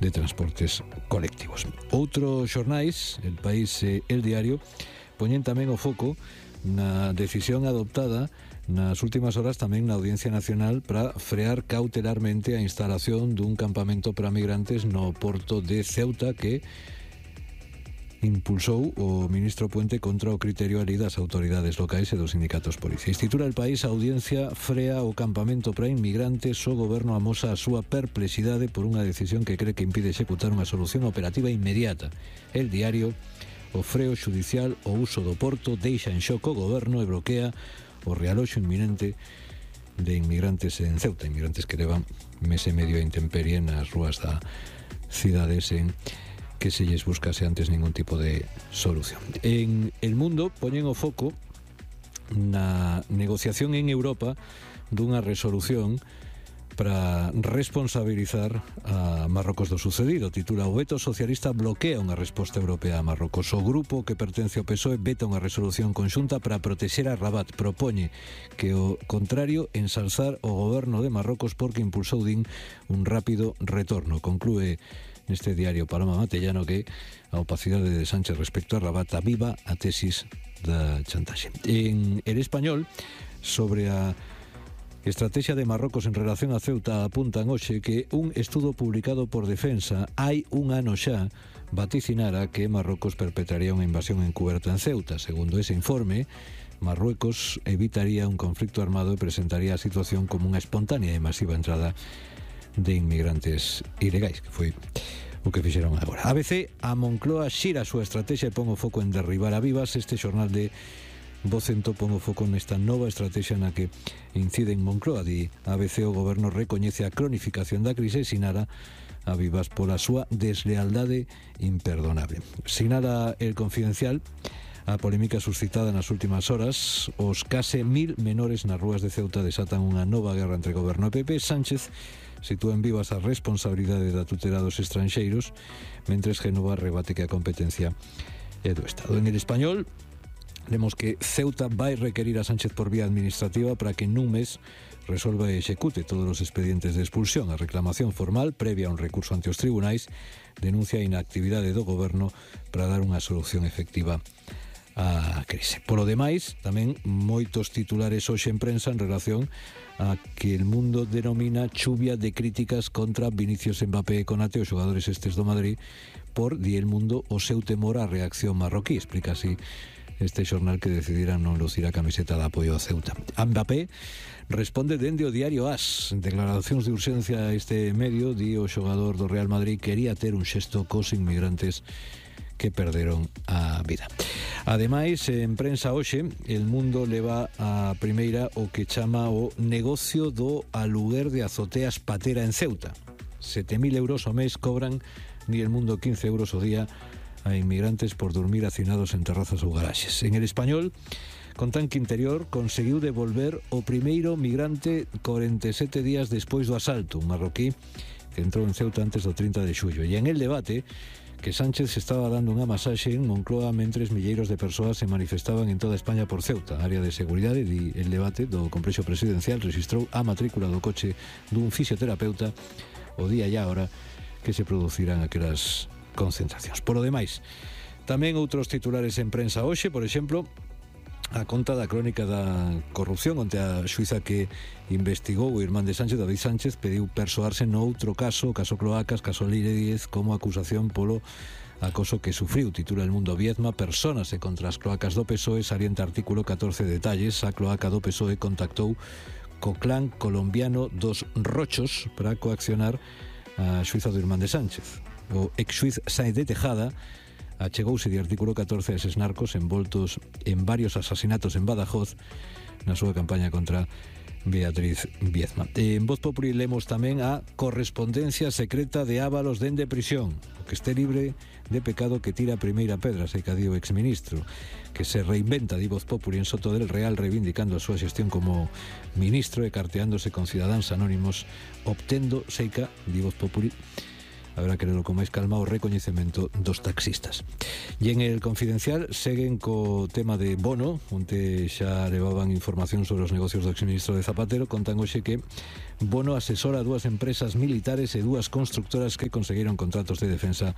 de transportes colectivos. Outros xornais, El País e El Diario, poñen tamén o foco na decisión adoptada nas últimas horas tamén na Audiencia Nacional para frear cautelarmente a instalación dun campamento para migrantes no porto de Ceuta que impulsou o ministro Puente contra o criterio ali das autoridades locais e dos sindicatos policiais. Titula El País: a Audiencia frea o campamento para inmigrantes, o goberno amosa a súa perplexidade por unha decisión que cree que impide executar unha solución operativa inmediata. El Diario: o freo xudicial o uso do porto deixa en xoco o goberno e bloquea o realoxo inminente de inmigrantes en Ceuta, inmigrantes que levan mes e medio a intemperie nas rúas da cidade sen que se lles buscase antes ningún tipo de solución. En El Mundo poñen o foco na negociación en Europa dunha resolución para responsabilizar a Marrocos do sucedido. Titula: o veto socialista bloquea unha resposta europea a Marrocos. O grupo que pertence ao PSOE veta unha resolución conxunta para protexer a Rabat. Propoñe que o contrario ensalzar o goberno de Marrocos porque impulsou, din, un rápido retorno. Conclúe neste diario Paloma Matellano que a opacidade de Sánchez respecto a Rabat aviva a tesis da chantaxe. En El Español, sobre a estrategia de Marrocos en relación a Ceuta, apuntan hoxe que un estudo publicado por Defensa hai un ano xa vaticinara que Marrocos perpetraría unha invasión encuberta en Ceuta. Segundo ese informe, Marruecos evitaría un conflicto armado e presentaría a situación como unha espontánea e masiva entrada de inmigrantes ilegais, que foi o que fixeron agora. ABC: a Moncloa xira a súa estrategia e pon o foco en derribar a Vivas. Este xornal de Vocento pon o foco nesta nova estrategia na que incide en Moncloa. Di ABC: o goberno recoñece a cronificación da crise e sinala a Vivas pola súa deslealdade imperdonable. Sinala El Confidencial a polémica suscitada nas últimas horas. Os case 1000 menores nas rúas de Ceuta desatan unha nova guerra entre goberno e PP. Sánchez sitúa en Vivas a responsabilidade da tutela dos estranxeiros, mentres Génova rebate que a competencia é do Estado. En El Español lemos que Ceuta vai requerir a Sánchez por vía administrativa para que nun mes resolva e execute todos os expedientes de expulsión. A reclamación formal, previa a un recurso ante os tribunais, denuncia a inactividade do goberno para dar unha solución efectiva a crise. Polo demais, tamén moitos titulares hoxe en prensa en relación a que El Mundo denomina chuvia de críticas contra Vinicius Mbappé e Konate, os xogadores estes do Madrid, por, di El Mundo, o seu temor á reacción marroquí. Explica así este xornal que decidiran non lucir a camiseta de apoio a Ceuta. A Mbappé responde dende o diario AS. En declaracións de urxencia a este medio, di o xogador do Real Madrid quería ter un xesto cos inmigrantes que perderon a vida. Ademais, en prensa hoxe, El Mundo leva a primeira o que chama o negocio do aluguer de azoteas patera en Ceuta. 7.000 euros ao mes cobran, ni El Mundo, 15 euros ao día a inmigrantes por dormir hacinados en terrazas ou garaxes. En El Español contan que Interior conseguiu devolver o primeiro migrante 47 días despois do asalto, un marroquí que entrou en Ceuta antes do 30 de xullo. E en El Debate, que Sánchez estaba dando unha masaxe en Moncloa mentres milleiros de persoas se manifestaban en toda España por Ceuta. A área de seguridade, di El Debate, do complexo presidencial registrou a matrícula do coche dun fisioterapeuta o día e a hora que se producirán aquelas concentracións. Por lo demais, tamén outros titulares en prensa hoxe, por exemplo, a conta da crónica da corrupción, onde a xuíza que investigou o irmán de Sánchez, David Sánchez, pediu persoarse no outro caso, caso Cloacas, caso Leire Díez, como acusación polo acoso que sufriu. Titula El Mundo: Viezma persónase contra as cloacas do PSOE, salienta artículo 14 detalles. A cloaca do PSOE contactou co clan colombiano dos Rochos para coaccionar a xuíza do irmán de Sánchez. O ex-xuiz Sáenz de Tejada achegouse de artículo 14 a eses narcos envoltos en varios asasinatos en Badajoz na súa campaña contra Beatriz Viezma. En Voz Populi lemos tamén a correspondencia secreta de Ábalos dende prisión. O que este libre de pecado que tira a primeira pedra, se cadío exministro, que se reinventa, di Voz Populi, en Soto del Real, reivindicando a súa xestión como ministro e carteándose con cidadáns anónimos, obtendo, seica, di Voz Populi, habrá que lerlo con máis calma, o recoñecemento dos taxistas. E en el Confidencial seguen co tema de Bono, onde xa levaban información sobre os negocios do exministro de Zapatero. Contan hoxe que Bono asesora a dúas empresas militares e dúas constructoras que conseguiron contratos de defensa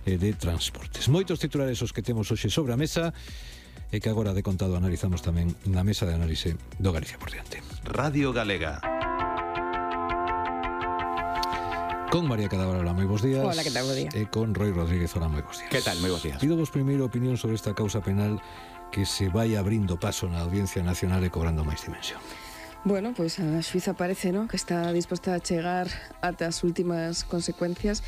e de transportes. Moitos titulares os que temos hoxe sobre a mesa e que agora de contado analizamos tamén na mesa de análise do Galicia por diante. Radio Galega. Con María Cadaval, moi bons días. Hola, que tal, bo día. E con Roy Rodríguez, hola, moi bons días. Que tal, moi bons días. Pido vos primeiro opinión sobre esta causa penal que se vai abrindo paso na Audiencia Nacional e cobrando máis dimensión. Bueno, pois a xuíza parece, ¿no?, que está disposta a chegar ata as últimas consecuencias.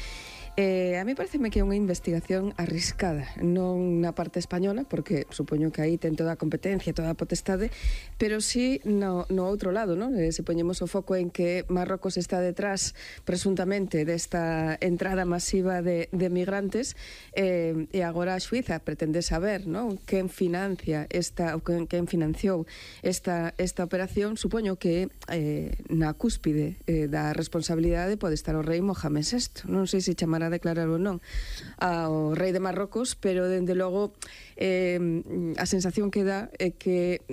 A mí pareceme que é unha investigación arriscada, non na parte española, porque supoño que aí ten toda a competencia, toda a potestade, pero sí no outro lado, ¿no? Se poñemos o foco en que Marrocos está detrás, presuntamente, desta entrada masiva de migrantes, e agora a Suiza pretende saber, ¿no?, quen financia quen financiou esta operación. Supoño que na cúspide da responsabilidade pode estar o rei Mohamed VI. Non sei se chamar a declarar ou non ao rei de Marrocos, pero dende logo a sensación que dá é que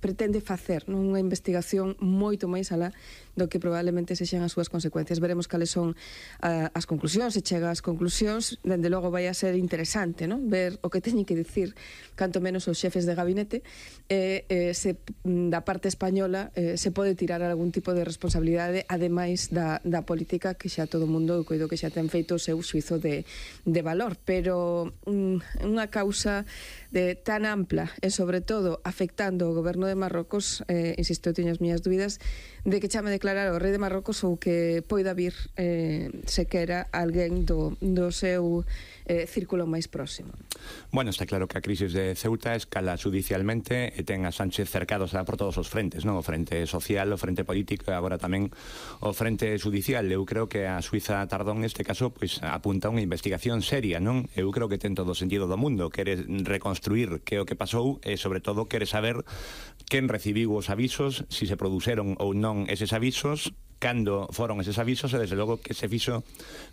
pretende facer unha investigación moito máis alá do que probablemente sexan as súas consecuencias. Veremos cales son as conclusións, se chega ás conclusións. Dende logo vai a ser interesante, non?, ver o que teñen que dicir canto menos os xefes de gabinete, se da parte española se pode tirar algún tipo de responsabilidade, ademais da política, que xa todo o mundo, eu coido que xa ten feito o seu xuizo de valor, pero unha causa tan ampla e sobre todo afectando o goberno de Marrocos, insisto, eu teño as miñas dúbidas de que chame declarar o rei de Marrocos ou que poida vir sequera alguén do seu círculo máis próximo. Bueno, está claro que a crisis de Ceuta escala judicialmente e ten a Sánchez cercados por todos os frentes, non? O frente social, o frente político e agora tamén o frente judicial. Eu creo que a Suiza tardou neste caso pois apunta a unha investigación seria, non? Eu creo que ten todo o sentido do mundo, quere reconstruir que o que pasou e sobre todo quere saber quen recibiu os avisos, si se produceron ou non eses avisos, cando foron eses avisos e desde logo que se fixo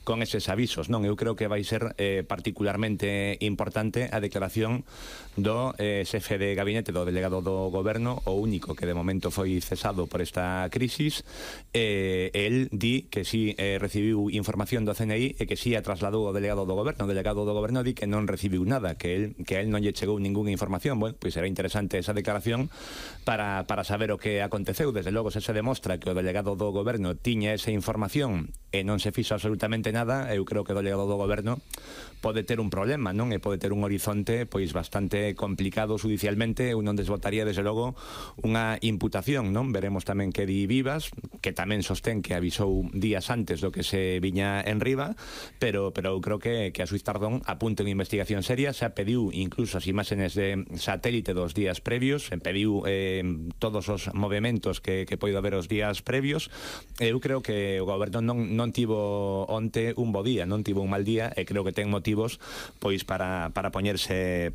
con eses avisos, non? Eu creo que vai ser particularmente importante a declaración do xefe de gabinete do delegado do goberno, o único que de momento foi cesado por esta crisis. El di que si recibiu información do CNI e que si a trasladou ao delegado do goberno. O delegado do goberno di que non recibiu nada, que a él non lle chegou ninguna información. Bueno, pois será interesante esa declaración para saber o que aconteceu. Desde logo, se demostra que o delegado do goberno tiña esa información e non se fixo absolutamente nada, eu creo que o delegado do goberno pode ter un problema, non? E pode ter un horizonte pois bastante complicado judicialmente. Eu non desbotaría desde logo unha imputación, non? Veremos tamén que di Vivas, que tamén sostén que avisou días antes do que se viña en riba, pero eu creo que a Suiz Tardón apunta unha investigación seria. Se pediu incluso as imaxes de satélite dos días previos, pediu todos os movimentos que poido haber os días previos. Eu creo que o goberno non tivo onte un bo día, non tivo un mal día, e creo que ten motivos pois para poñerse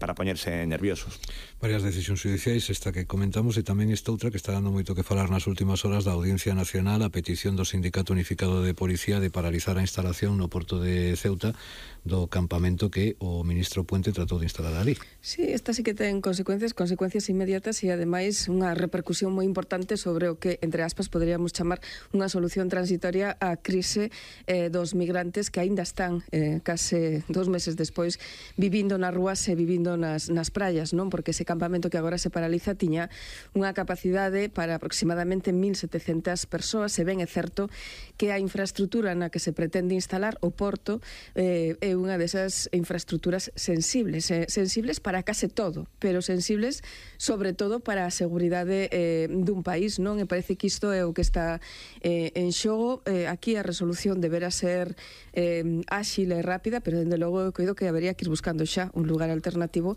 nerviosos. Varias decisións judiciais, esta que comentamos, e tamén esta outra que está dando moito que falar nas últimas horas da Audiencia Nacional, a petición do Sindicato Unificado de Policía de paralizar a instalación no porto de Ceuta do campamento que o ministro Puente tratou de instalar ali. Sí, esta sí que ten consecuencias inmediatas e ademais unha repercusión moi importante sobre o que, entre aspas, poderíamos chamar unha solución transitoria á crise dos migrantes que aínda están case 2 meses despois vivindo nas rúas e vivindo nas praias, non? Porque ese campamento que agora se paraliza tiña unha capacidade para aproximadamente 1.700 persoas. Se ben é certo que a infraestructura na que se pretende instalar o porto é unha desas infraestructuras sensibles para case todo, pero sensibles sobre todo para a seguridade dun país, non? E parece que isto é o que está en xogo. Aquí a resolución deberá ser áxil e rápida, pero dende logo eu coido que habería que ir buscando xa un lugar alternativo,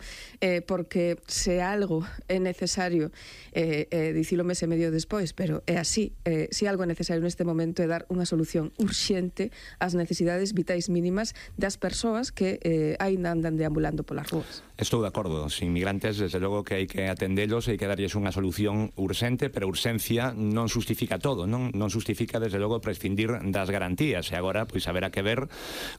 porque se algo é necesario, dicilo mes e medio despois, pero é así, se algo é necesario neste momento é dar unha solución urxente ás necesidades vitais mínimas das persoas que aínda andan deambulando polas rúas. Estou de acordo, os inmigrantes desde logo que hai que atendelos, hai que darlles unha solución urxente, pero urxencia non xustifica todo, non justifica desde logo prescindir das garantías, e agora pois haberá que ver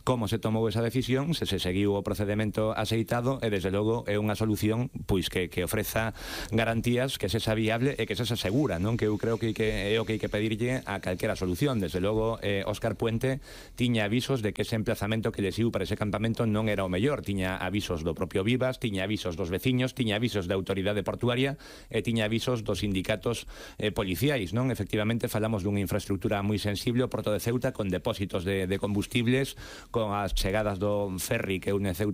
como se tomou esa decisión, se seguiu o procedimento aceitado, e desde logo é unha solución pois que ofreza garantías, que sexa viable e que sexa segura, non? Que eu creo que é o que hai que pedirlle a calquera solución. Desde logo, Óscar Puente tiña avisos de que ese emplazamento que lles iu para ese campamento non era o mellor. Tiña avisos do propio Vivas, tiña avisos dos veciños, tiña avisos da autoridade portuaria e tiña avisos dos sindicatos policiais, non? Efectivamente, falamos dunha infraestructura moi sensible, o Porto de Ceuta, con depósitos de combustibles, con as chegadas do ferry que une Ceuta